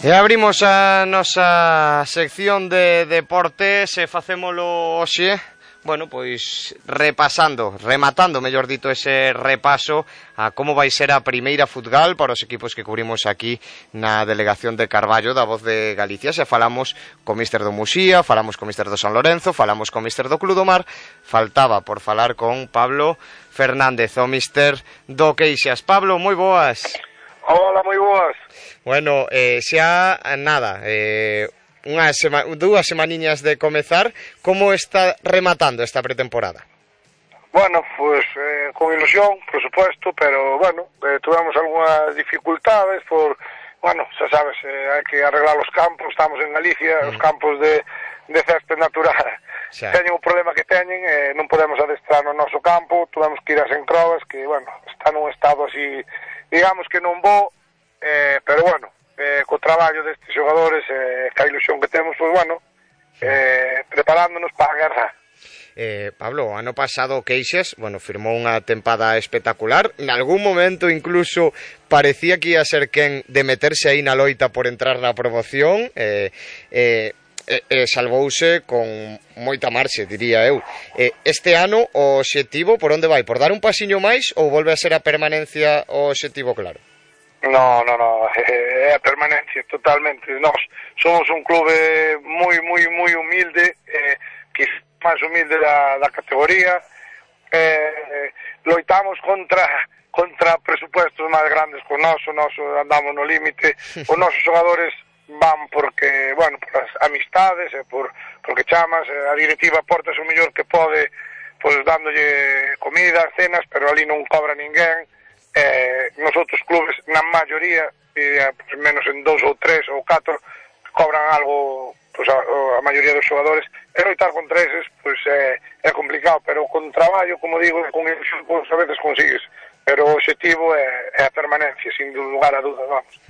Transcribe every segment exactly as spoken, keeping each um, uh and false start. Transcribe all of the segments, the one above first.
E abrimos a nosa sección de deportes e facémolo hoxe, bueno, pois repasando, rematando, mellor dito, ese repaso a como vai ser a primeira futgal para os equipos que cubrimos aquí na delegación de Carballo da Voz de Galicia. Se falamos co míster do Muxía, falamos co míster do San Lorenzo, falamos co míster do Club do Mar, faltaba por falar con Pablo Fernández, o míster do Queixas. Pablo, moi boas. Hola, moi boas. Bueno, eh, xa nada, eh, unha sema, dúas semaniñas de comezar. Como está rematando esta pretemporada? Bueno, pues eh, con ilusión, por supuesto, pero bueno, eh, tuvemos algunhas dificultades por, bueno, xa sabes, eh, hai que arreglar os campos, estamos en Galicia, mm. os campos de, de césped natural xa teñen o problema que teñen, eh, non podemos adestrar no noso campo, tuvemos que ir a Sencrovas, que, bueno, está nun estado así, digamos que non bo, eh, pero bueno, eh, co traballo destes xogadores, eh, ca ilusión que temos, pues bueno, eh, preparándonos para a guerra. Eh, Pablo, o ano pasado o Queixas, bueno, firmou unha tempada espectacular. En algún momento incluso parecía que ia ser quen de meterse aí na loita por entrar na promoción. Eh, eh, E, e salvouse con moita marxe, diría eu. E, este ano o obxectivo por onde vai? Por dar un pasiño máis ou volve a ser a permanencia o obxectivo claro? No, no, no, é a permanencia totalmente. Nós somos un clube moi, moi, moi humilde, eh, que máis humilde da, da categoría, eh, loitamos contra contra presupuestos máis grandes con noso, noso andamos no límite, os nosos xogadores van porque, bueno, por as amistades e por, porque chamas, a directiva portas o mellor que pode, pois dándolle comida, cenas, pero ali non cobra ninguén. Eh, nos outros clubes, na maioría, eh, pues, menos en dous ou tres ou catro, cobran algo, pues, a, a maioría dos xogadores, e loitar contra eses, pois pues, é, é complicado, pero con traballo, como digo, con ilusión, pues, a veces consigues. Pero o objetivo é, é a permanencia, sin lugar a dudas, vamos.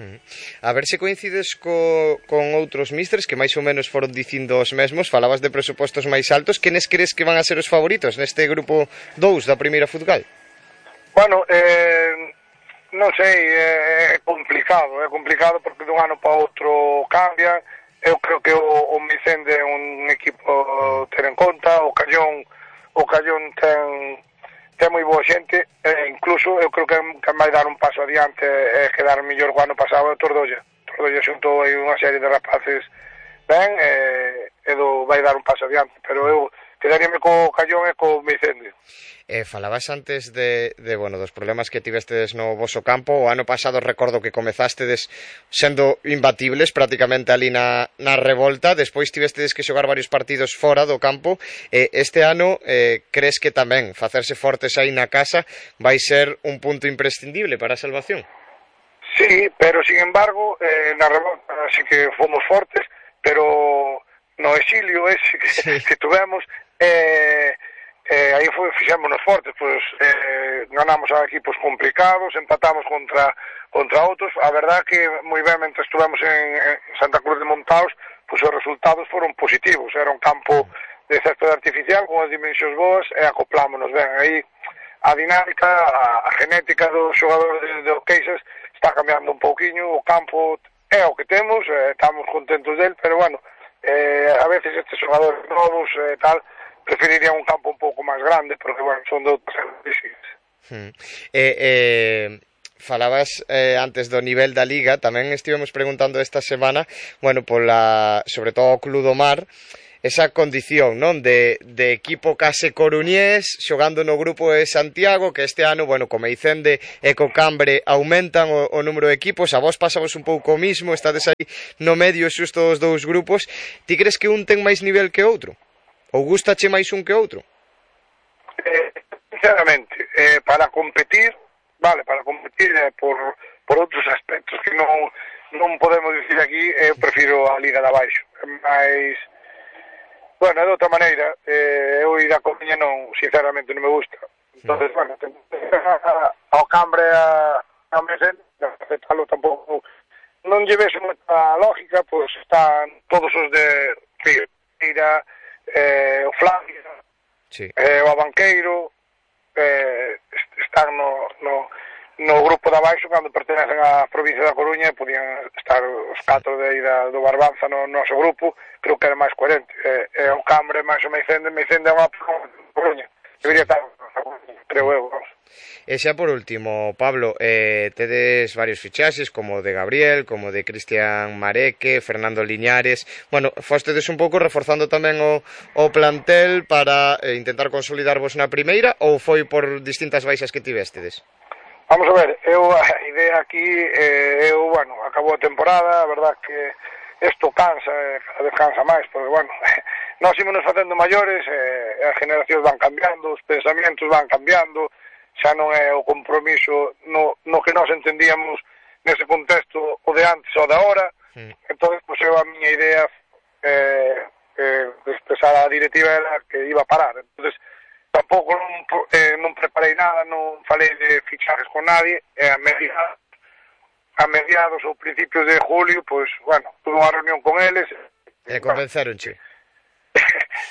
A ver se coincides co, con outros místers que máis ou menos foron dicindo os mesmos. Falabas de presupostos máis altos. Quenes crees que van a ser os favoritos neste grupo dous da primeira futgal? Bueno, eh, non sei, é complicado, é complicado porque dun ano para outro cambia. Eu creo que o, o Micende é un equipo ter en conta, o Callón, o Callón ten... ten moi boa xente, e incluso eu creo que, que vai dar un paso adiante e quedar mellor o ano pasado o Tordolla. Tordolla xuntou aí unha serie de rapaces ben e, e do, vai dar un paso adiante, pero eu quedaríame co Callón e co Vicente. Eh, falabas antes de, de, bueno, dos problemas que tivestedes no voso campo. O ano pasado recordo que comezastedes sendo imbatibles prácticamente ali na, na revolta. Despois tivestedes que xogar varios partidos fora do campo. Eh, este ano, eh, crees que tamén facerse fortes aí na casa vai ser un punto imprescindible para a salvación? Sí, pero sin embargo, eh, na revolta sí que fomos fortes, pero no exilio ese que, sí. que tuvemos... Eh, Eh, aí foi, fixémonos fortes, pois eh, ganamos a equipos complicados, empatamos contra contra outros. A verdad que moi ben, mentre estuvemos en, en Santa Cruz de Montaos, pois os resultados foron positivos. Era un campo de césped artificial con as dimensións boas e acoplámonos ben. Aí a dinámica, a, a genética dos xogadores de, de Queixas está cambiando un pouquiño. O campo é o que temos, eh, estamos contentos del, pero bueno, eh, a veces estes xogadores novos e eh, tal preferiría un campo un pouco máis grande, porque, bueno, son de outras características. Hmm. Eh, eh, falabas eh, antes do nivel da Liga, tamén estivemos preguntando esta semana, bueno, pola, sobre todo o Club do Mar, esa condición, non, de, de equipo case coruñés, xogando no grupo de Santiago, que este ano, bueno, co Meicende e co Cambre aumentan o, o número de equipos. A vos pasamos un pouco o mismo, estades aí no medio xusto dos dous grupos. Ti crees que un ten máis nivel que outro? Ou gustache máis un que outro? Eh, sinceramente, eh, para competir, vale, para competir eh, por, por outros aspectos que non, non podemos dicir aquí, eu eh, prefiro a Liga de Abaixo. Mas, bueno, de outra maneira, eh, eu ir a Coruña non, sinceramente, non me gusta. Entonces, no. bueno, ao Cambre a, a Mesén, aceptalo tampouco, non lle ves moita lógica, pois pues, están todos os de Figueira, Eh, o Flavia, sí. eh, o Abanqueiro, eh, están no, no, no grupo de abaixo, cando pertenecen á provincia da Coruña, podían estar os catro de aí da, do Barbanza no noso grupo, creo que era máis coherente. É, é o Cambre, máis o Meicende, Meicende é unha Coruña. Debería estar, creo eu, vamos. E xa por último, Pablo, eh, tedes varios fichaxes, como o de Gabriel, como o de Cristian Mareque, Fernando Liñares. Bueno, fostedes un pouco reforzando tamén o, o plantel para eh, intentar consolidarvos na primeira, ou foi por distintas baixas que tivestedes? Vamos a ver, eu a idea aquí, eh, eu, bueno, acabou a temporada, a verdad que isto cansa, eh, cada vez cansa máis, porque, bueno, nós ímonos facendo maiores, eh, as generacións van cambiando, os pensamentos van cambiando, xa non é o compromiso no, no que nós entendíamos nese contexto o de antes ou de ahora. Mm. Entón, pues, eu a miña idea eh, eh, de expresar a directiva era que iba a parar. Entonces, tampouco non, eh, non preparei nada, non falei de fichajes con nadie, e a mediados, a mediados ou principios de julio, pois, pues, bueno, tuve unha reunión con eles. E convenceronche?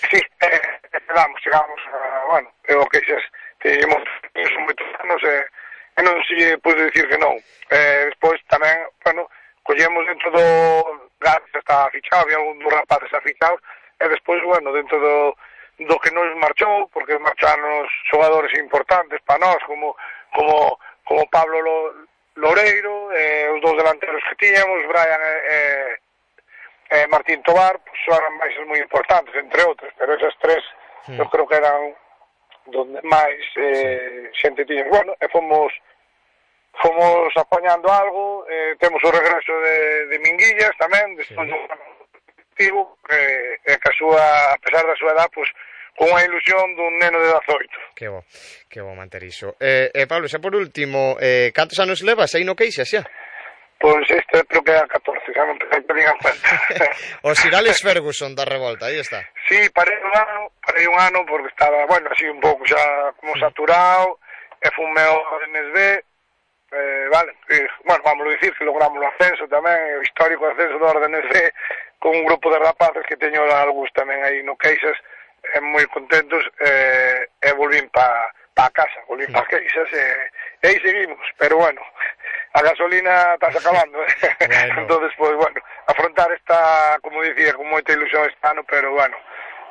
Sí, eh, chegamos, chegamos, a, bueno, eu que xes, teníamos moitos anos e, e non se pode dicir que non. Eh, despois tamén, bueno, collemos dentro do Garza está fichado, había algún dos rapaces afichados, e despois, bueno, dentro do, do que nos marchou, porque marcharon os xogadores importantes para nós, como como como Pablo Loureiro, eh, os dous delanteros que tiñamos, Brian e, e, e Martín Tobar, pues, eran baixas moi importantes, entre outros, pero esas tres, sí. Eu creo que eran donde máis eh, sí. xente tiña. Bueno, e fomos fomos apañando algo, eh, temos o regreso de, de Minguillas tamén, despois sí. Do eh, e que a súa, a pesar da súa edad, pues, con unha ilusión dun neno de dezaoito. Que bo, que bo manter iso. Eh, eh, Pablo, xa por último, eh, cantos anos levas aí no Queixas xa? Pois este creo que é a catorce, xa non te digan cuenta. O Sir Alex Ferguson da revolta, aí está. Sí, parei un ano, parei un ano porque estaba, bueno, así un pouco xa como saturado, e fume o N S B, eh, vale, e, bueno, vamos a dicir que logramos o ascenso tamén, o histórico ascenso do N S B, con un grupo de rapaces que teño algúns tamén aí no Queixas, e moi contentos, e, e volvín pa, pa casa, volvín pa Queixas, e, e aí seguimos, pero bueno, a gasolina está acabando, eh? Bueno. Entonces, pues bueno, afrontar esta, como dicía, con moita ilusión este ano, pero bueno,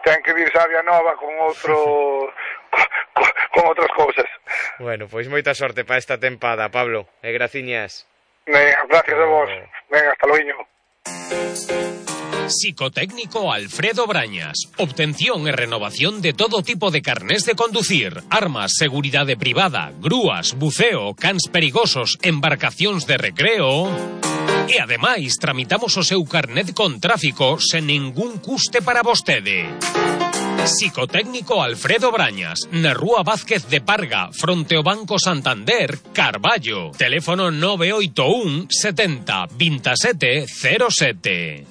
ten que vir Sabia Nova con outro con, con outras cousas. Bueno, pois moita sorte para esta tempada, Pablo, e graciñas. Venga, gracias a vos. Venga, hasta loiño. Psicotécnico Alfredo Brañas. Obtención e renovación de todo tipo de carnés de conducir, armas, seguridade privada, grúas, buceo, cans perigosos, embarcacións de recreo. E ademais tramitamos o seu carnet con tráfico sen ningún custe para vostede. Psicotécnico Alfredo Brañas, na Rúa Vázquez de Parga, fronte ao Banco Santander, Carballo. Teléfono nove oito un setenta veintisiete cero sete.